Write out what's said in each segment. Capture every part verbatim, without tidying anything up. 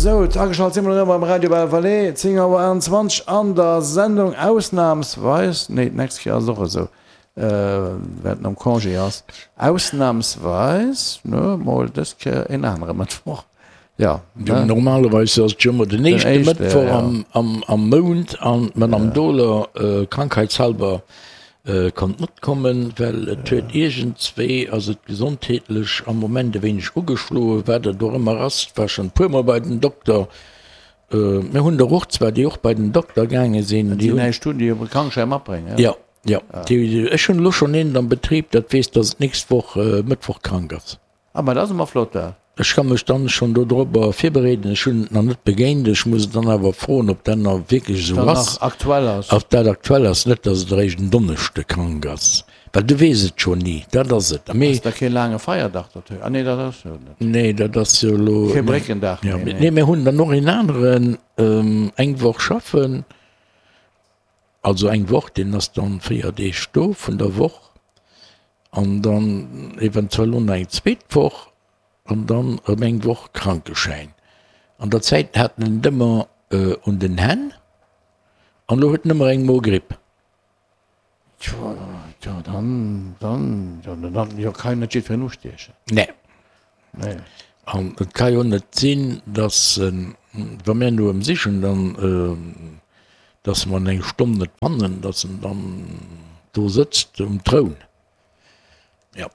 Sou, ageschalt si mer elo beim Radio Belle Vallée, zéng Auer achtenzwanzeg an der Sendung ausnamsweis, nee, d'nächst Kéier ass et och esou, well en am Congé ass, ausnamsweis, ne, mol dës Kéier en anere Mëttwoch, jo, ne? Normalerweis ass et jo ëmmer den éischte Mëttwoch am Mount an d'Madame Dohler krankheitshalber Konnt net kommen, well et huet iergendswéi, ass et gesondheetlech am Moment e wéineg ugeschloen, wat et och ëmmer ass, war schonn e puermol bei den Dokter. Mir hunn der och zwar, déi och bei den Dokter gaange sinn, déi näischt hunn, déi e Krankschäi matbréngen. Jo, jo, déi, ech hunn elo schonn een am Betrib, dat weess, datt et d'nächst Woch Mëttwoch krank ass. Ah, ma dat ass emmer flott, dat. Ech ka mech dann schon dodrobber virbereeden. Ech hun et nach net begéint. Ech muss et dann awer froen, ob dat nach wierklech esou ass. Nach aktuell ass. Ob dat aktuell ass. Net, dass et eréischt en Donneschde krank ass. Well du weess et jo ni. Dat ass et. Mee. Ass da kee laange Feierdag dertëscht? Ah nee, dat ass jo net. Nee, dat ass jo elo. Kee Bréckendag méi, nee. Nee, mir hunn dann och een aneren, eng Woch schaffen. Also eng Woch, deen ass dann véier Deeg do vun der Woch. An dann eventuell och nach eng zweet Woch an dann erëm eng Woch Krankeschäin. An der Zäit hat en et ëmmer un den Hänn an elo huet en ëmmer eng Mogripp. Tjo, tjo, dann, dann, jo, dann, jo, ka jo net jiddwereen ustiechen. Nee. Nee. An et ka jo net sinn, dass en, wa mir no em sichen, dann, dass mer en eng Stonn net fannen, dass en dann do sëtzt um Troun. Jo,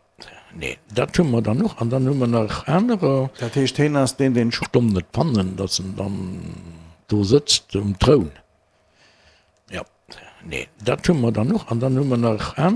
nee, dat hu mer dann och. An dann hu mer nach anerer. Dat heescht, hien ass deen, deen. Stonn net fannen, dass en dann do sëtzt um Troun. Jo, nee, dat hu mer dann och. An dann hu mer nach anerer.